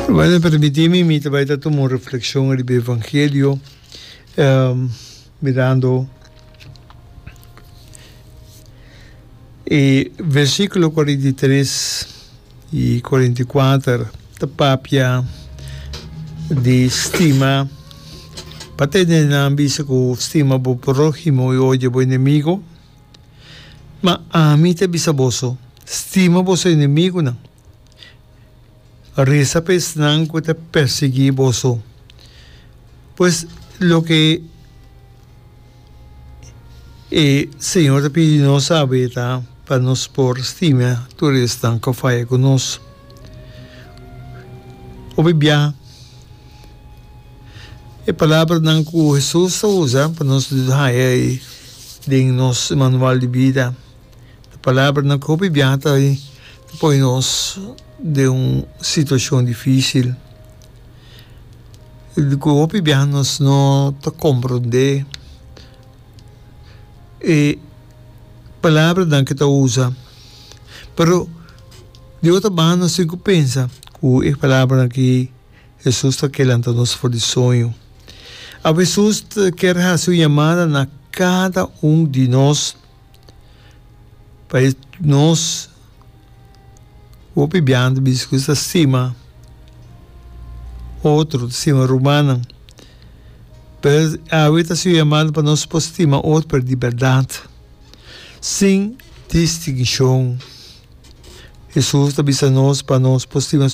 Bueno, permiti mi, mi ta bai ta tuma un reflexion riba e Evangelio, mirando e versiculo 43 y 44 ta papia di stima, pa tende nan bisa cu stima bo prohimo y odia bo enemigo. Ma ami ta bisa boso, stima boso enemigunan, resa pa esnan ku ta persiguí boso. Pues, loke e Señor ta pidi nos awe ta pa nos por stima tur esnan ku a faya ku nos. Hopi bia e palabranan ku Hesus ta usa pa nos haña e den nos manual di bida. Ta palabranan ku hopi biaha ta pone nos den un situashon difisil, ku hopi biaha nos no ta komprondé e palabranan ku e ta usa. Pero di otro banda nos tin ku pensa ku e palabranan aki Hesus ta ke lanta nos for di soño. Awe Hesus ta kier hasi un yamada na kada un di nos pa e nos hopi biaha ta bisa ku ta stima otro, ta stima rumannan. Pero awe ta hasi un yamada pa nos por stima otro pero di bèrdat, sin distinshon. Hesus ta bisa nos pa nos por stima,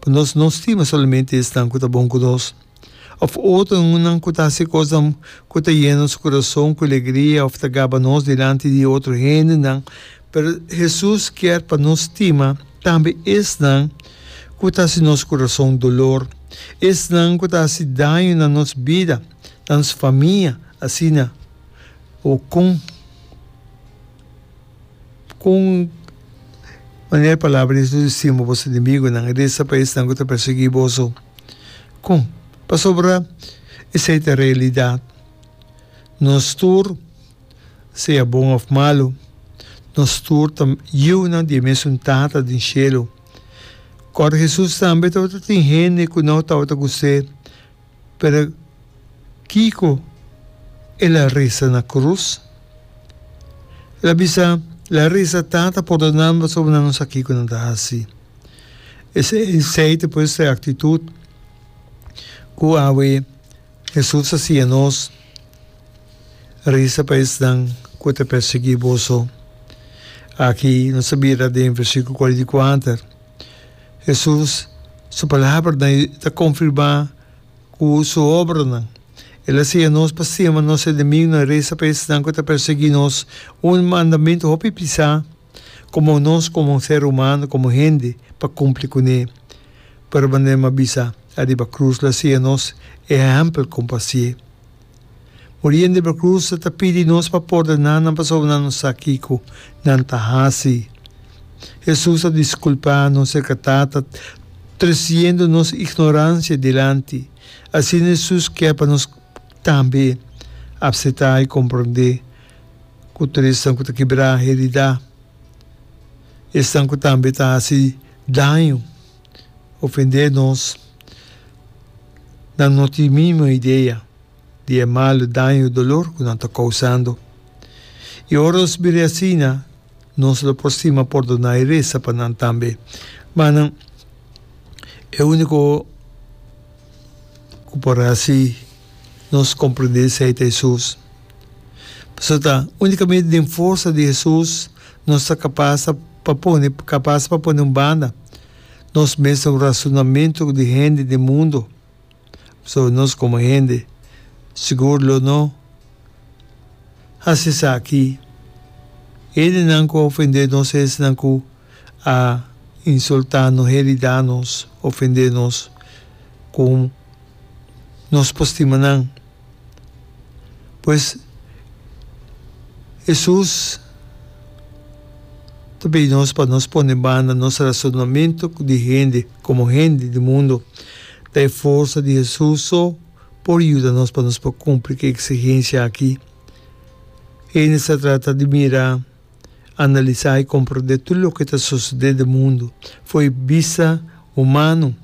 pa nos no stima solamente esnan ku ta bon ku nos, òf otronan ku ta hasi kosnan ku ta yena nos kurason ku alegria òf ta gaba nos dilanti di otro hendenan. Pero Hesus kier pa nos stima tambe esnan ku ta hasi nos kurason dolor, esnan ku ta hasi daño na nos bida, na nos famia, asina o kon. Kon manera e palabra di Hesus di stima boso enemigunan i resa pa esnan ku ta persiguí boso? Kon? Pasobra esei ta realidat. Nos tur, sea bon òf malu, nos tur ta yiunan di e mesun Tata den shelu. Kòrda Hesus tambe tabata tin hende ku no tabata gust'é. Pero kiko el a resa na krus? El a bisa, El a resa, Tata, pordoná nan pasobra nan no sa kiko nan ta hasi. Esei ta pues e aktitut ku awe Hesus a siña nos, Resa pa esnan ku ta persiguí boso. Aki nos ta mira den versíkulo 44. Hesus su palabranan ta konfirmá ku su obranan. El a siña nos pa stima nos enemigunan i resa pa esnan ku ta persiguí nos, un mandamentu hopi pisá komo nos komo ser humano, komo hende, pa kumpli kuné. Pero manera mi a bisa ariba krus lo a siña nos e ehèmpel kon pa hasié. Muriendo riba krus ta pidi nos pa pordoná nan pasobra nan no sa kiko nan ta hasi. Hesus a diskulpá nos serka Tata tresiendo nos ignoransia dilanti. Asina Hesus kier pa nos tambe apseptá i komprondé ku tur esnan ku ta kibrá, heridá, esnan ku tambe ta hasi daño, ofendé nos, nan no tin mínimo idea. di e malu, daño i dolor ku nan ta kousando. I ora nos bira asina, nos lo por stima pordoná i resa pa nan tambe. Manan, e úniko ku por hasi nos komprendé esei ta Hesus. Pasobra ta únikamente den forsa di Hesus nos ta kapas pa pone kapas pa pone un banda nos mesun rasonamentu di hende den mundu. So nos komo hende sigur lo no hasi esaki. Hendenan ku a ofendé nos, esnan ku a insultá nos, heridá nos, ofendé nos, ku nos por stima nan. Pues, Hesus ta pidi nos pa nos pone banda nos rasonamentu di hende komo hende di mundu. Ta e forsa di Hesus so por yuda nos pa nos por kumpli ku e eksigensia aki. Hende sa trata di mira, analisá i komprondé tur loke ta sosodé den mundu for e bista humano.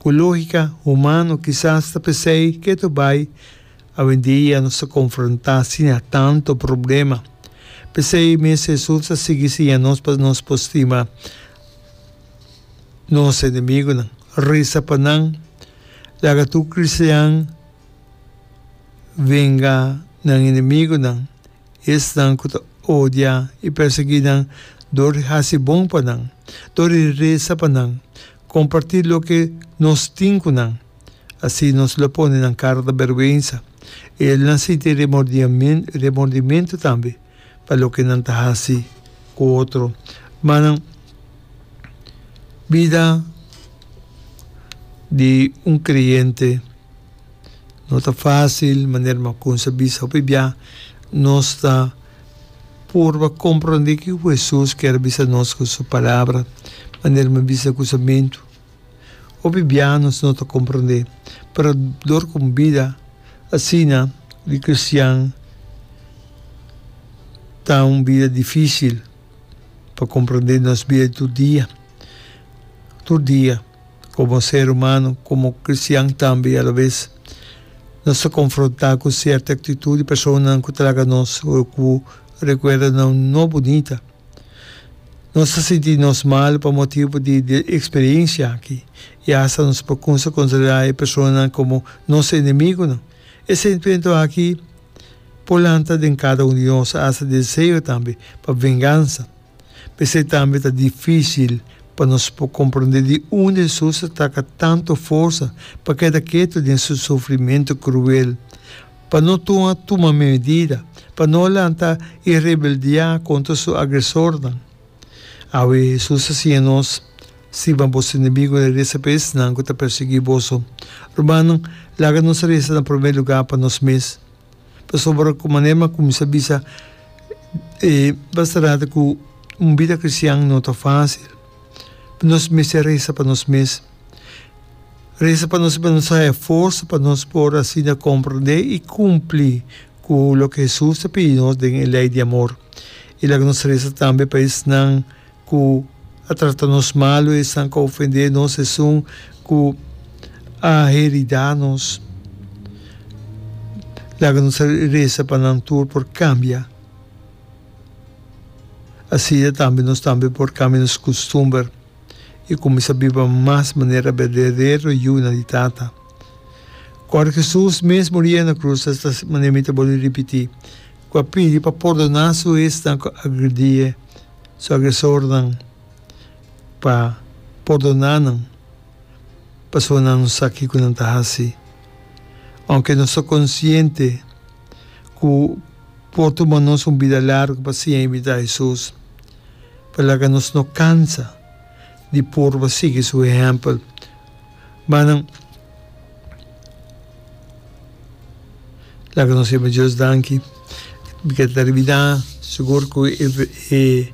Ku lógika humano kisas ta p'esei ketu bai awendia nos ta konfrontá asina tantu problema. P'esei mes Hesus a sigui siña nos pa nos por stima nos enemigunan, resa pa nan, laga tur kristian venga nan enemigunan. Esnan ku ta odia i persiguí nan dor di hasi bon pa nan, dor di resa pa nan, kompartí loke nos tin ku nan. Asina nos lo pone nan kara ta bèrgwensa i nan sinti remordimentu tambe pa loke nan ta hasi ku otro. Manan, bida di un kreyente. No ta fácil, manera mi a cuminsa bisa hopi bia, nos ta purba comprende kico Hesus kier bisa nos cu su palabra, manera mi a bisa cusamentu. Hopi bia nos no ta comprende, pero dor cu un bida asina di cristian ta un bida dificil pa comprende nos bida di tur dia, tur dia. Komo ser humano, komo kristian tambe i alabes nos ta konfrontá ku sierto aktitut di personanan ku ta laga nos ku rekuerdonan no bunita. Nos ta sinti nos mal pa motibu di e eksperensia aki i asta nos por kumsa konsiderá e personanan komo nos enemigunan. E sentimentu aki por lanta den kada un di nos, asta deseo tambe pa vengansa. P'esei tambe ta difísil pa nos por komprondé di unda Hesus a taka tantu forsa pa keda ketu den su sufrimentu kruel, pa no tuma tuma medida, pa no lanta i rebeldiá kontra su agresornan. Awe Hesus a siña nos, Stima boso enemigunan i resa pa esnan ku ta persiguí boso. Rumannan, laga nos resa na promé lugá pa nos mes. Pasobra ku manera mi a kuminsá bisa e basta rato ku un bida kristian no ta fásil. Nos mester resa pa nos mes. Resa pa nos pa nos haya forsa pa nos por asina komprendé i kumpli ku loke Hesus ta pidi nos den e lei di amor. I laga nos resa tambe pa esnan ku a trata nos malu, esnan ku a ofendé nos, esun ku a heridá nos. Laga nos resa pa nan tur por kambia. Asina tambe nos tambe por kambia nos kustumber i kuminsá biba mas manera berdadero yunan di Tata. Kòrda Hesus mes muria na krus, esta manera mi ta bolbe ripití, ku a pidi pa pordoná su esnan ku a agredié. Su agresornan pa pordoná nan pasobra nan no sa kiko nan ta hasi. Ounke nos ta konsiente ku por tuma nos un bida largu pa siña imitá Hesus, pa laga nos no kansa di purba sigui su ehèmpel. Manan, laga nos yama Dios danki. Mi ke terminá sigur ku e e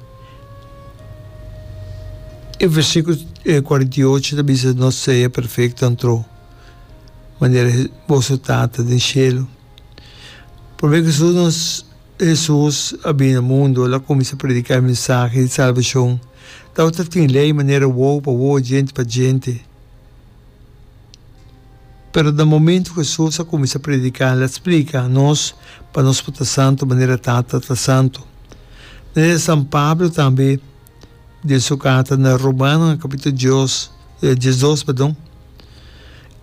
e versíkulo 48 ta bisa nos sea perfekto antro manera boso Tata den shelu. Promé ku Hesus nos Hesus a bini na mundu el a kuminsá prediká e mensahe di salbashon. Tabata tin lei manera wowo pa wowo, djente pa djente. Pero na momento ku Hesus a kuminsá prediká, el a splika nos pa nos por ta santu manera Tata ta santu. Manera San Pablo tambe den su karta na Romanonan kapítulo dios, diesdos, perdon,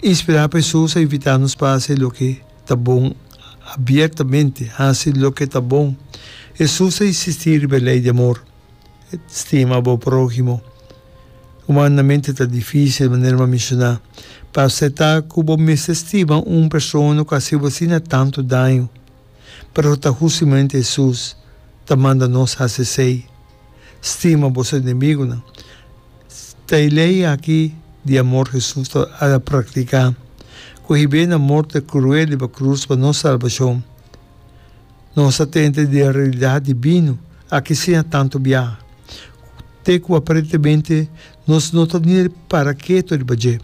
inspirá pa Hesus a invitá nos pa hasi loke ta bon abiertamente, hasi loke ta bon. Hesus a insistí riba e lei di amor. Stima bo próhimo. Humanamente ta difísil, manera mi a menshoná, pa aseptá ku bo mester stima un persona ku a hasi bo asina tantu daño. Pero ta hustamente Hesus ta manda nos hasi esei, Stima boso enemigunan. Ta e lei aki di amor Hesus ta a praktiká, ku hib'é na morte kruel riba krus pa nos salbashon. Nos a tende di e realidat dibino aki siña tantu biaha, te ku aparentemente nos no ta ni para ketu riba dje.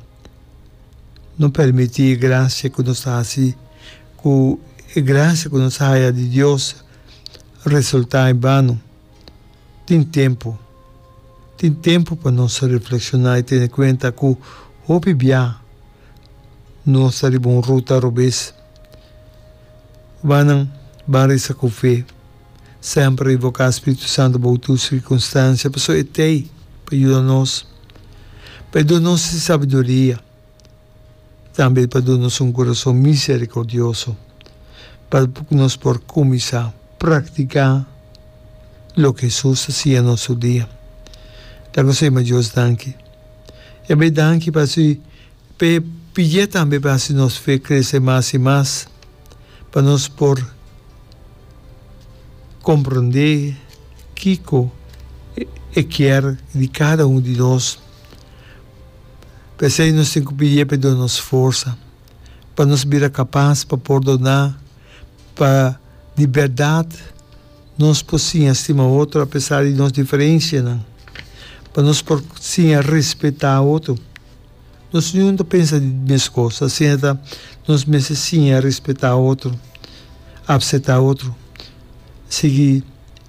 No permití e grasia ku nos ta hasi ku e grasia ku nos a haya di Dios resultá en bano. Tin tempu. Tin tempu pa nos reflekshoná i tene kuenta ku hopi biaha. Nos ta riba un ruta robes. Rumannan, ban resa ku fe. Semper invoká Spiritu Santu bou tur sirkunstansia, pasobra e t'ei pa yuda nos, pa e duna nos e sabiduria, tambe pa duna nos un kurason miserikordioso, pa nos por kuminsá praktiká loke Hesus a siña nos tur dia. Laga nos yama Dios danki. Yam'é danki pa su. P'e pidié tambe pa hasi nos fe krese mas i mas, pa nos por komprondé kiko e kier di kada un di nos. P'esei nos tin ku pidié pa e duna nos forsa, pa nos bira kapas pa pordoná, pa di bèrdat nos por siña stima otro apesar di nos diferensianan, pa nos por siña respetá otro. Nos niun ta pensa di meskos, asina ta nos mester siña respetá otro, apseptá otro, sigui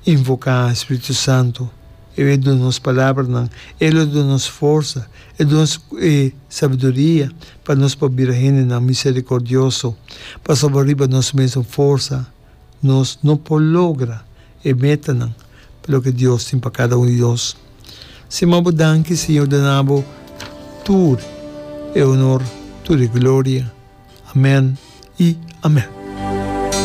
invoká Spiritu Santu, E lo duna nos palabranan, E lo duna nos forsa, E duna nos e sabiduria pa nos por bira hendenan miserikordioso, pasobra riba nos mesun forsa nos no por logra e metanan pa loke Dios tin pa kada un di nos. Sima bo danki Señor duna bo tur e honor, tur e gloria. Amen y amen.